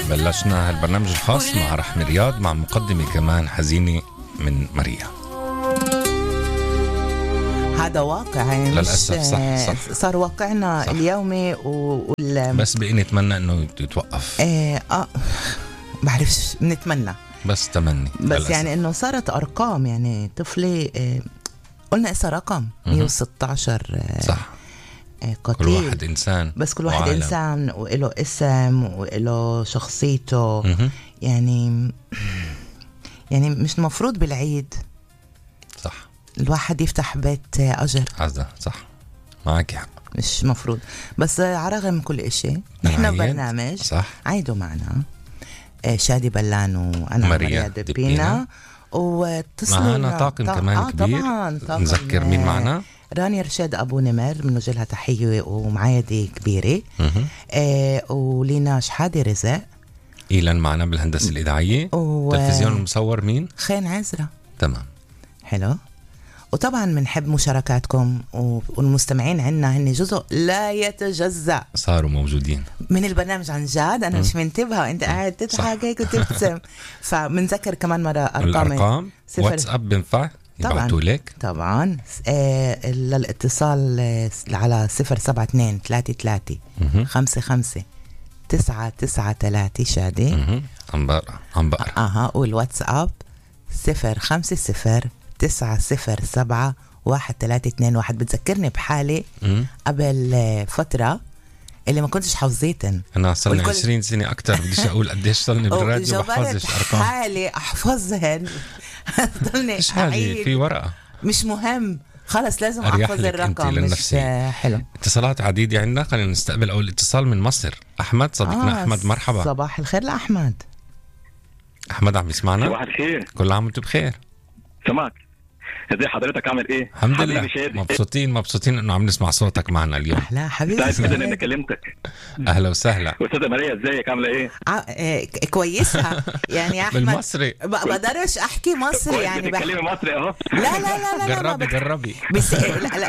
بلشنا هالبرنامج الخاص مع رحمة رياض مع مقدمة كمان حزينة من ماريا. هذا واقع للأسف صح. صار واقعنا صح. اليومي بس بقي نتمنى انه يتوقف. بعرفش نتمنى بس تمني بس للأسف. يعني انه صارت ارقام يعني طفلة قلنا اسا رقم 116 صح. قتيل. كل واحد إنسان بس كل واحد وعالم. إنسان وإله اسم وإله شخصيته يعني مش مفروض بالعيد صح الواحد يفتح بيت أجر عزة. صح معك حق مش مفروض. بس على رغم كل إشي نحن برنامج صح. عيدوا معنا شادي بلان وأنا ماريا دبينا واتصلوا معنا طاقم كمان كبير. طبعا نذكر مين معنا. رانيا رشاد أبو نمر بنوجه لها تحية ومعايدة كبيرة. ولينا شحادة رزق. إيلان معنا بالهندسة الإذاعية. تلفزيون المصور مين؟ خين عزرة. تمام حلو. وطبعا بنحب مشاركاتكم والمستمعين عنا هن جزء لا يتجزأ صاروا موجودين من البرنامج عن جد. أنا مش منتبهة وأنت قاعد تضحك هيك وتبتسم. فمنذكر كمان مرة أرقام واتساب بنفع يبعتوا لك طبعا للاتصال على 072 33 55 993 شادي عم بقرأ والواتساب 050 907 1321. بتذكرني بحالي قبل فترة اللي ما كنتش حافظيتن. أنا صلني 20 سنة أكتر بديش أقول قديش صلني بالراديو بحفظش أرقام حالي أحفظهن. ضلني أعيد في ورقة مش مهم خلص لازم أحفظ الرقم مش حلو. اتصالات عديدة عندنا. خلينا نستقبل أول اتصال من مصر. أحمد صديقنا أحمد مرحبا. صباح الخير لأحمد. أحمد عم يسمعنا؟ صباح الخير. كل عام وانتم بخير. سمعك. ازي حضرتك عامل ايه؟ الحمد لله مبسوطين انه عم نسمع صوتك معنا اليوم. لا حبيبي سعيد جدا اني كلمتك. اهلا وسهلا. استاذه ماريا ازيك عامله ايه؟ كويسه يعني يا احمد. بالمصري بقدرش احكي مصري يعني بتكلمي مصري اهو. لا جربي بس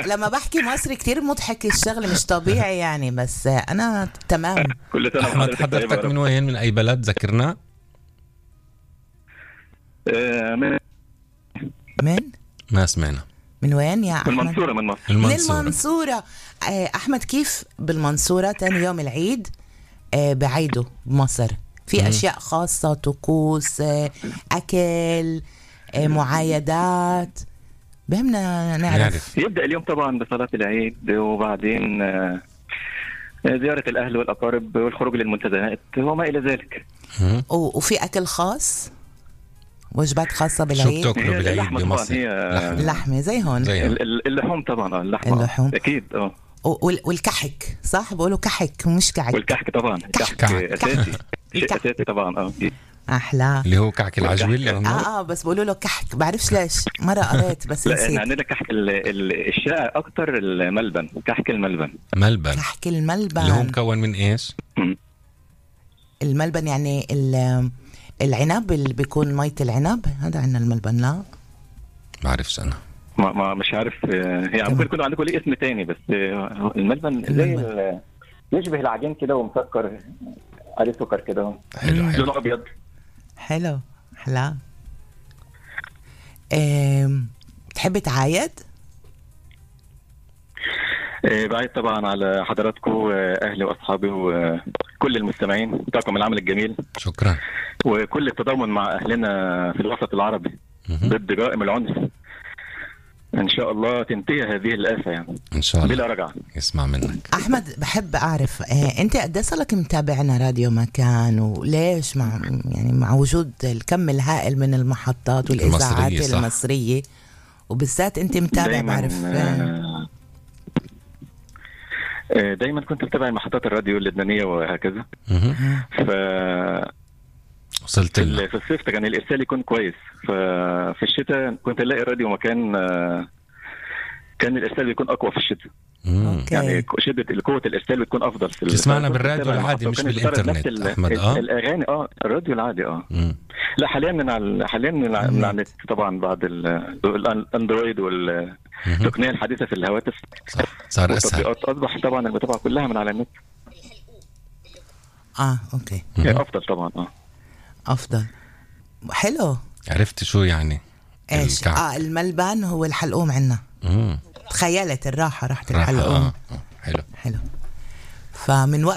لما بحكي مصري كتير مضحك الشغل مش طبيعي يعني. بس انا تمام. كل سنه احمد حضرتك من وين من اي بلد ذكرنا؟ من ما سمعنا. من وين يا أحمد؟ من المنصورة. أحمد كيف بالمنصورة تاني يوم العيد بعيده بمصر في أشياء خاصة طقوس أكل معايدات بهمنا نعرف. يبدأ اليوم طبعا بصلاة العيد وبعدين زيارة الأهل والأقارب والخروج للمنتزهات وما إلى ذلك. وفي أكل خاص وجبات خاصة بالعيد. شو بتاكلوا بالعيد بمصر؟ لحمة زي هون. اللحوم طبعا. اللحوم أكيد. والكحك صح بقولوا كحك مش كعك. والكحك طبعا كحك أساسي. شيء أساسي طبعا. أحلى اللي هو كعك العجوي اللي بس بقولوا له كحك بعرفش ليش مرة قريت بس نسيت. لا عندنا كحك الشائع أكتر الملبن. كحك الملبن. كحك الملبن اللي هو مكون من إيش؟ الملبن يعني العنب اللي بيكون مية العنب هذا عنا الملبن. لا بعرفش أنا ما مش عارف يعني ممكن يكون عندكم ليه اسم تاني بس الملبن زي يشبه العجين كده ومسكر عليه سكر كده حلو لونه أبيض. حلو أحلى. تحب تعايد؟ بعيد طبعا على حضراتكم أهلي وأصحابي وكل المستمعين بتاعكم العمل الجميل. شكرا. وكل التضامن مع أهلنا في الوسط العربي ضد جرائم العنف. إن شاء الله تنتهي هذه الآفة يعني إن شاء الله بلا رجعة. يسمع منك أحمد. بحب أعرف أنت قديش لك متابعنا راديو مكان وليش مع وجود الكم الهائل من المحطات والإذاعات المصرية وبالذات أنت متابع. بعرف دايما كنت متابع محطات الراديو اللبنانية وهكذا. وصلت في الصيف كان الإرسال يكون كويس. ففي الشتاء كنت ألاقي الراديو مكان كان الإرسال بيكون أقوى في الشتاء. يعني شدة قوة الإرسال بتكون أفضل. تسمعنا بالراديو العادي مش بالإنترنت أحمد. الأغاني الراديو العادي لا حاليا من على النت طبعا بعد الأندرويد والتقنية الحديثة في الهواتف صار أسهل. أصبح طبعا المتابعة كلها من على النت. اوكي. افضل طبعا. افضل. حلو. عرفت شو يعني ايش؟ الملبن هو الحلقوم عنا. تخيلت الراحة راحت الحلقوم. حلو. فمن وقت